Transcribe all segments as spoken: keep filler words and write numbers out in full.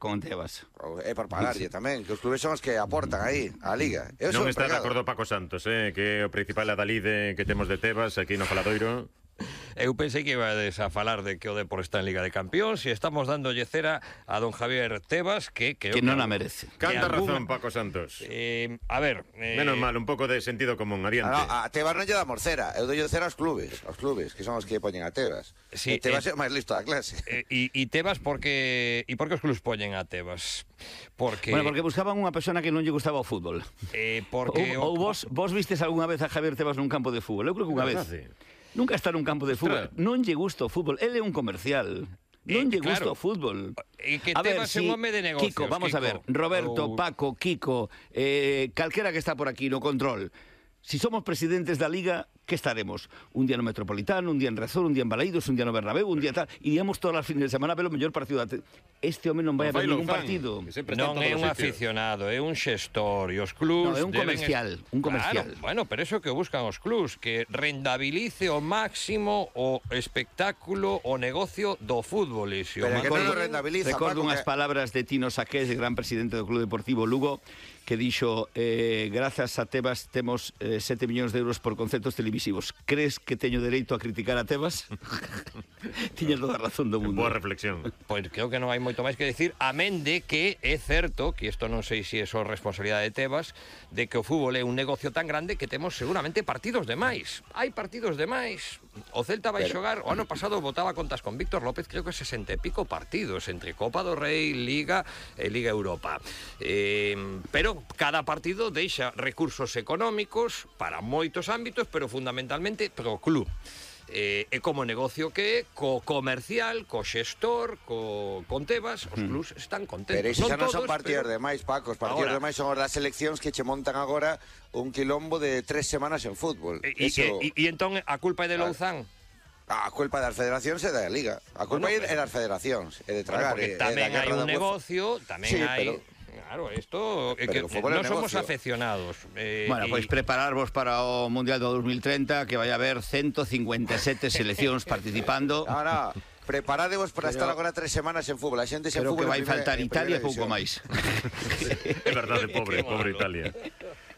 con Tebas. É por pagarlle tamén, que os clubes son os que aportan aí a Liga. Eu Non son está de empregado. acordo Paco Santos, eh, que é o principal adalide que temos de Tebas aquí no Faladoiro. Eu pensei que ibades a falar de que o Depor está en Liga de Campións e estamos dándolle cera a don Javier Tebas, que... Que, que non a merece. Canta alguna... razón, Paco Santos. Eh, a ver... Eh... Menos mal, un pouco de sentido común, adiante. No, a Tebas non lle damos cera, eu dolle cera aos clubes, aos clubes, que son os que poñen a Tebas. Sí, e Tebas eh, é o máis listo da clase. E eh, e Tebas porque... E por que os clubs poñen a Tebas? Porque... Bueno, porque buscaban unha persona que non lle gustaba o fútbol. Eh, porque... Ou, ou vos, vos vistes algunha vez a Javier Tebas nun campo de fútbol? Eu creo que unha vez. Nunca está nun campo de fútbol. Non lle gusta o fútbol. Ele é un comercial. Non lle gusta claro. o fútbol. E que A ver, Tebas é si, un home de negocios. Kiko, vamos Kiko. a ver. Roberto, Ou... Paco, Kiko, eh, calquera que está por aquí no control. Si somos presidentes da Liga, que estaremos? Un día no Metropolitano, un día en Rezón, un día en Balaídos, un día no Bernabéu, un día tal. Iríamos todas as fines de semana a ver o mellor partido. Este home non vai a ver ningún partido. Non é un aficionado, é un xestor. E os clubs... No, é un comercial, un comercial. Claro, bueno, pero eso que buscan os clubs, que rendabilice o máximo o espectáculo, o negocio do fútbol. E se o Pero que non mantiñen- lo rentabiliza, Recordo Paco, unhas que... palabras de Tino Saqués, gran presidente do Club Deportivo Lugo, que dixo, eh, grazas a Tebas temos eh, sete millóns de euros por conceptos televisivos. Crees que teño dereito a criticar a Tebas? Tiñas toda a razón do mundo. Boa reflexión. Pois creo que non hai moito máis que decir, amén de que é certo, que isto non sei se é só responsabilidade de Tebas, de que o fútbol é un negocio tan grande que temos seguramente partidos de máis. Hai partidos de máis. O Celta vai Pero... xogar, o ano pasado votaba contas con Víctor López, creo que sesenta e pico partidos, entre Copa do Rei, Liga e Liga Europa. Eh, pero cada partido deixa recursos económicos para moitos ámbitos, pero fundamentalmente pro club. Eh, é como negocio que é, co comercial, co xestor, co, con Tebas, os clubs están contentos. Pero iso xa non son todos, partidos pero... de máis, Paco. Os partidos Ahora... de máis son os das seleccións que che montan agora un quilombo de tres semanas en fútbol. E, Eso... e, e, e entón a culpa é de Claro. Louzán? A culpa das federacións é da Liga. A culpa Bueno, é das federacións, é de tragar. Bueno, porque é, tamén é da hai guerra un da negocio, tamén Sí, hai... pero- Claro, isto é que Pero o fútbol é non somos negocio. afeccionados. Eh, Bueno, e- pois prepararvos para o Mundial do dos mil treinta, que vai haber ciento cincuenta e sete seleccións participando. No, no, preparadevos para Pero- estar agora tres semanas en fútbol. A xente sen Creo fútbol que vai en primeira- faltar en Italia e primeira pouco división. máis. É verdade, pobre, Qué pobre malo. Italia.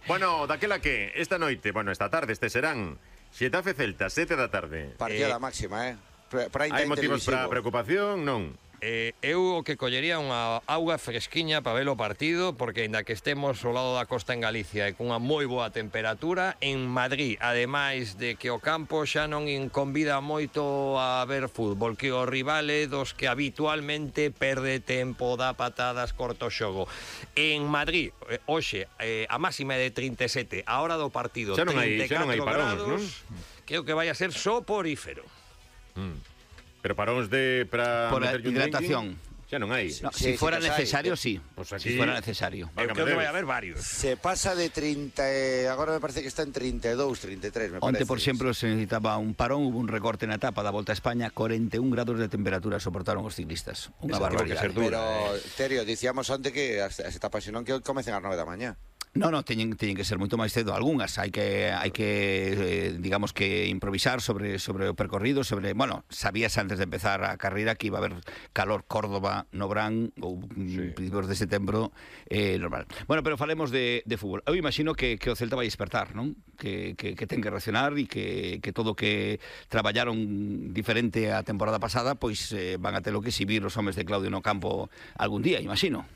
Bueno, daquela que esta noite, bueno, esta tarde, este serán Xetafe Celta, sete da tarde. Partida Eh, da máxima, eh? Pre- Prime Hai time motivos para televisivo. preocupación? Non. Eh, eu o que collería unha auga fresquiña para ver o partido, porque ainda que estemos ao lado da costa en Galicia e cunha moi boa temperatura, en Madrid, ademais de que o campo xa non convida moito a ver fútbol, que o rival é dos que habitualmente perde tempo, dá patadas, corto xogo. En Madrid, eh, hoxe, eh, a máxima é de trinta e sete, a hora do partido Xa non hai- trinta e xa non hai catro paróns, grados, creo que vai a ser soporífero. Mm. Pero paróns de para Por a meterlle un hidratación. drinking, xa non hai. No, Sí, si sí fuera que os hai. necesario, sí. Pues Si aquí- fuera necesario. Eu creo que vai haber varios. Se pasa de treinta e... Agora me parece que está en treinta e dous, treinta e tres, me Onte, parece. por exemplo, se necesitaba un parón, hubo un recorte na etapa da Volta a España, cuarenta e un grados de temperatura soportaron os ciclistas. Unha Esa tivo que barbaridade. ser dura. Pero, Terio, dicíamos onte que as, as etapas non que comecen ás nove da mañá. No, no, teñen, teñen que ser moito máis cedo. Algúnas hai que hai que eh, digamos que improvisar sobre sobre o percorrido, sobre, bueno, sabías antes de empezar a carreira que iba a haber calor Córdoba, Nobrán ou sí. principios de setembro, eh, normal. Bueno, pero falemos de, de fútbol. Eu imagino que, que o Celta vai despertar, non? Que, que, que ten que reaccionar e que, que todo que traballaron diferente a temporada pasada, pois eh, van a ter o que exhibir os homes de Claudio no campo algún día, imagino.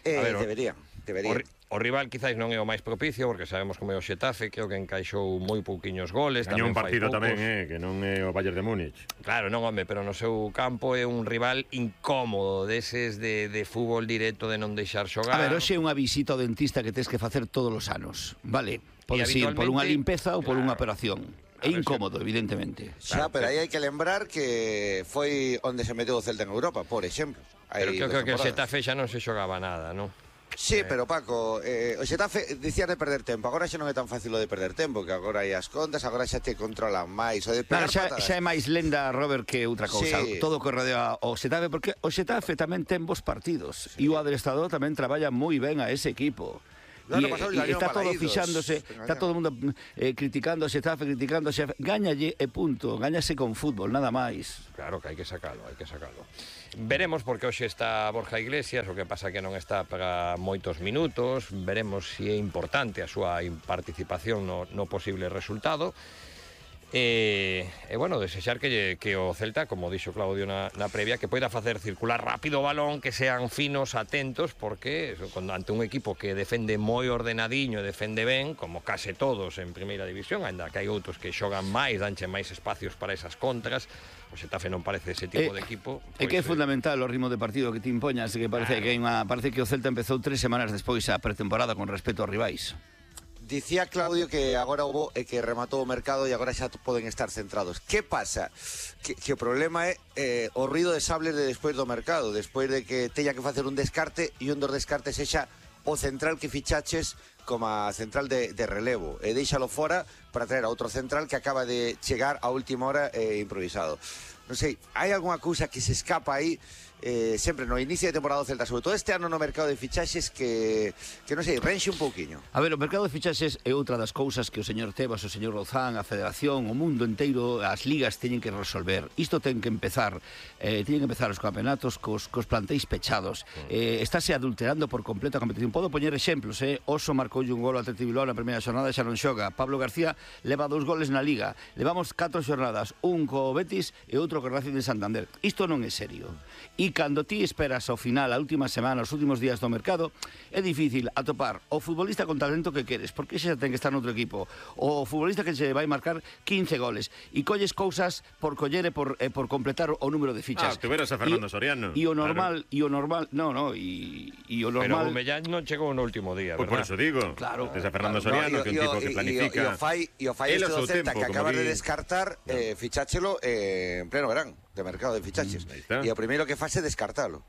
Eh, A ver, o- deberían, deberían. O, ri- o rival quizais non é o máis propicio, porque sabemos como é o Xetafe, creo que encaixou moi pouquiños goles. Gañou un tamén fai partido poucos. tamén, eh, que non é o Bayern de Múnich. Claro, non, home, pero no seu campo é un rival incómodo, deses de, de fútbol directo, de non deixar xogar. A ver, hoxe é unha visita ao dentista que tens que facer todos os anos, vale? Podes ir por unha habitualmente- limpeza ou por Claro. unha operación. É A ver, incómodo, evidentemente. Xa, pero aí hai que lembrar que foi onde se meteu o Celta en Europa, por exemplo. Hai Pero creo, dos creo que o temporadas. Xetafe xa non se xogaba nada, non? Sí, pero Paco, eh, o Xetafe dicía de perder tempo. Agora xa non é tan fácil o de perder tempo, que agora hai as contas, agora xa te controlan máis. O de Claro, pegar xa, patadas. xa é máis lenda, Robert, que outra cousa. Sí. Todo o que rodea o Xetafe, porque o Xetafe tamén ten bons partidos. E o adestrador tamén traballa moi ben a ese equipo. ano e, pasado e gañou está todo Balaídos. fixándose, está todo o mundo eh, criticando a Xetafe, criticando a Xetafe. Gáñalle e punto, gáñase con fútbol, nada máis. Claro que hai que sacalo, hai que sacalo. Veremos porque hoxe está Borja Iglesias, o que pasa que non está para moitos minutos, veremos se é importante a súa participación no, no posible resultado. E, e bueno, desexar que, que o Celta, como dixo Claudio na, na previa, que poida facer circular rápido o balón, que sean finos, atentos, porque eso, cuando, ante un equipo que defende moi ordenadiño e defende ben, como case todos en primeira división, ainda que hai outros que xogan máis, danche máis espacios para esas contras, o Xetafe non parece ese tipo Eh, de equipo. É que é pois, fundamental o ritmo de partido que te impoñas, que parece, Claro. que hai unha, parece que o Celta empezou tres semanas despois a pretemporada con respecto aos rivais. Dicía Claudio que agora hubo e que rematou o mercado e agora xa poden estar centrados. Que pasa? Que, que o problema é eh, o ruido de sables de despois do mercado, despois de que teña que facer un descarte e un dos descartes sexa o central que fichaches como a central de, de relevo e deixalo fora para traer a outro central que acaba de chegar a última hora eh, improvisado. Non sei, hai algunha cousa que se escapa aí eh, sempre no inicio de temporada do Celta, sobre todo este ano no mercado de fichaxes que, que non sei, renxe un pouquiño. A ver, o mercado de fichaxes é outra das cousas que o señor Tebas, o señor Rozán, a Federación, o mundo inteiro, as ligas teñen que resolver. Isto ten que empezar, eh, teñen que empezar os campeonatos cos, cos plantéis pechados. Eh, estáse adulterando por completo a competición. Podo poñer exemplos, eh? Oso marcou un gol ao Atleti Bilbao na primeira xornada e xa non xoga. Pablo García leva dous goles na Liga. Levamos catro xornadas, un co Betis e outro co Racing de Santander. Isto non é serio. E cando ti esperas ao final, a última semana, os últimos días do mercado, é difícil atopar o futbolista con talento que queres, porque xa ten que estar noutro equipo. O futbolista que se vai marcar quince goles. E colles cousas por coller e por, e por completar o número de fichas. Ah, tuveras a Fernando E- Soriano. E o normal, e o normal, no, no, e, e o Pero normal... Gumellán non chegou no último día, Pois por verdad? eso digo. Claro, Tes a Fernando claro. Soriano, que é un tipo que planifica. E o fai, e o fai Él este a do seu Celta tempo, que como acaba de di. descartar eh, ficháchelo eh, en pleno verán de mercado de fichaches. Aí está. E o primeiro que fase é descartalo.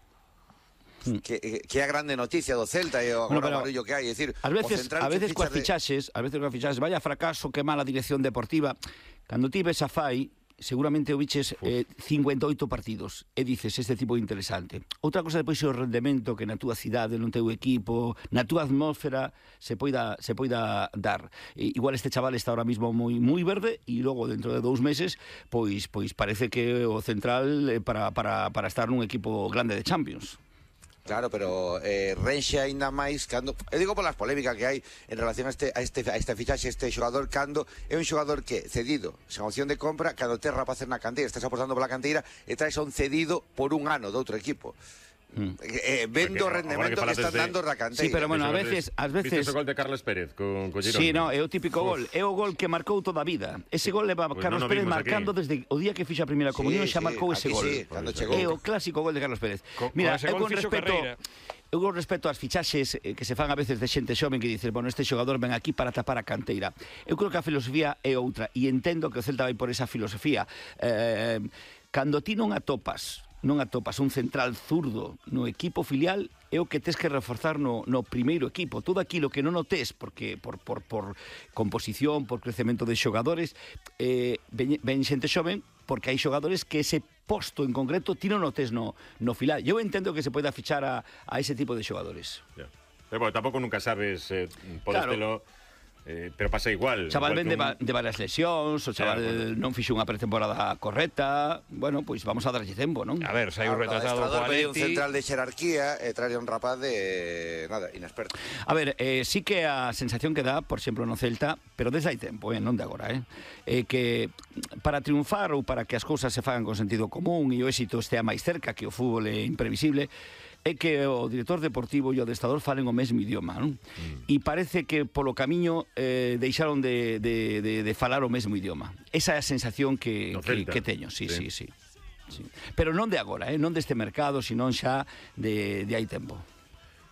Que, que é a grande noticia do Celta e o Bueno, agora pero barullo que hai, é dicir, Ás veces, o central a que veces coas fichas de- fichaxes, a veces coas fichaxes, vaya fracaso, que mala dirección deportiva. Cando ti ves a Fai, seguramente o biches eh, cincuenta e oito partidos e dices, este tipo é interesante. Outra cosa depois é o rendemento que na túa cidade, no teu equipo, na túa atmósfera se poida, se poida dar. E, igual este chaval está ahora mismo moi moi verde e logo dentro de dous meses pois pois parece que o central eh, para, para, para estar nun equipo grande de Champions. Claro, pero eh, renxe aínda máis cando, eu digo polas polémicas que hai en relación a este a este a este fichaxe, este xogador cando é un xogador que cedido, sen opción de compra, cando tes rapaces na canteira, estás apostando pola canteira e traes a un cedido por un ano de outro equipo. Mm. Eh, vendo o Porque, rendemento agora que que están falaste de- dando da canteira. Sí, pero bueno, a Viste- veces, ás veces... Viste o gol de Carlos Pérez con, con Girona? Sí, no, é o típico gol. É o gol que marcou toda a vida. Ese gol leva Pues Carlos non o Pérez vimos marcando aquí. desde o día que fixa a primeira comunión, Sí, xa sí, marcou ese aquí gol. sí, cando chegou. É o clásico gol de Carlos Pérez. Co- con Mira, ese eu gol con fixo respecto carreira. eu con respecto ás fichaxes eh, que se fan a veces de xente xoven que dices, bueno, este xogador ven aquí para tapar a canteira. Eu creo que a filosofía é outra e entendo que o Celta vai por esa filosofía. Eh, cando ti non atopas non atopas un central zurdo no equipo filial, é o que tes que reforzar no, no primeiro equipo. Todo aquilo que non o tes, porque por, por, por composición, por crecemento de xogadores, eh, ven, ven xente xoven, porque hai xogadores que ese posto en concreto ti non o tes no, no filial. Eu entendo que se poida fichar a, a ese tipo de xogadores. Ya. Pero bueno, tampouco nunca sabes, eh, podértelo... Claro. Eh, pero pasa igual. Chaval igual ven de, que un- va, de varias lesións, o chaval Claro, non fixo unha pretemporada correcta. Bueno, pois vamos a darlle tempo, non? A ver, se hai un Ahora, retratado o co adestrador pediu un Atleti... central de xerarquía e trae un rapaz de nada, inexperto. A ver, eh, sí que a sensación que dá, por exemplo, no Celta, pero desde hai tempo, eh, non de agora, eh, eh, que para triunfar ou para que as cousas se fagan con sentido común e o éxito estea máis cerca, que o fútbol é imprevisible, é que o director deportivo e o adestrador falen o mesmo idioma, non? Mm. E parece que polo camiño eh, deixaron de, de, de, de falar o mesmo idioma. Esa é a sensación que, No que, Celta. que teño, sí, Sí. sí, sí. sí. Pero non de agora, eh, non deste mercado, sino xa de, de hai tempo.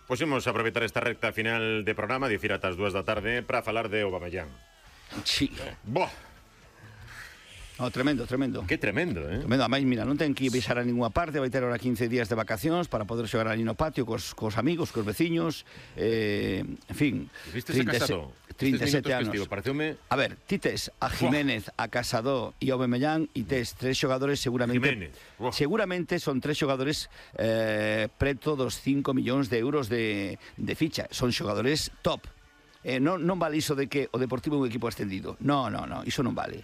Pois imos aproveitar esta recta final de programa, dicir ata as dúas da tarde, para falar de Aubameyang. Sí. Boh, Oh, tremendo, tremendo. que tremendo, eh? Tremendo, a máis, mira, non ten que ir viaxar a ninguna parte, vai ter ahora quince días de vacacións para poder xogar ali no patio cos, cos amigos, cos veciños, eh, en fin, Viste ese Casado? trinta e sete Estes minutos anos. festivo, pareceume... A ver, ti tes a Jiménez, a Casado e a Aubameyang e tes tres xogadores seguramente Jiménez, uah. seguramente son tres xogadores eh, preto dos cinco millóns de euros de, de ficha, son xogadores top. eh, non, non vale iso de que o Deportivo é un equipo ascendido. No, no, no, iso non vale.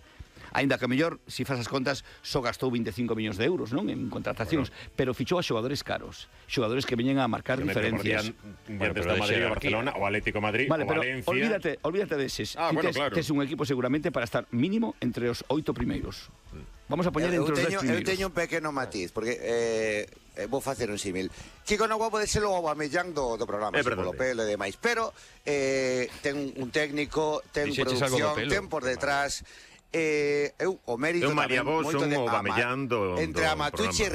Ainda que a mellor, se faz as contas, só gastou veinticinco millóns de euros, non, en contratacións, bueno, pero fichou a xogadores caros, xogadores que veñen a marcar diferencias. Bueno, pero está Madrid, o Barcelona, o Atlético Madrid, vale, o pero Valencia. Olvídate, olvídate deses. Ah, Ti bueno, tes, claro. tes un equipo seguramente para estar mínimo entre os oito primeiros. Vamos a poñer eu entre os dez teño, eu primeiros. teño un pequeno matiz, porque eh, eh, vou facer un símil. Kiko non pode ser o Aubameyang do, do programa, É así, verdade. polo pelo e demais, pero eh, ten un técnico, ten Dixeches algo do producción, pelo. ten por detrás... Eh, eu, o mérito É un María tamén Bosch, moito un de Aubameyang do- entre do Amatucci e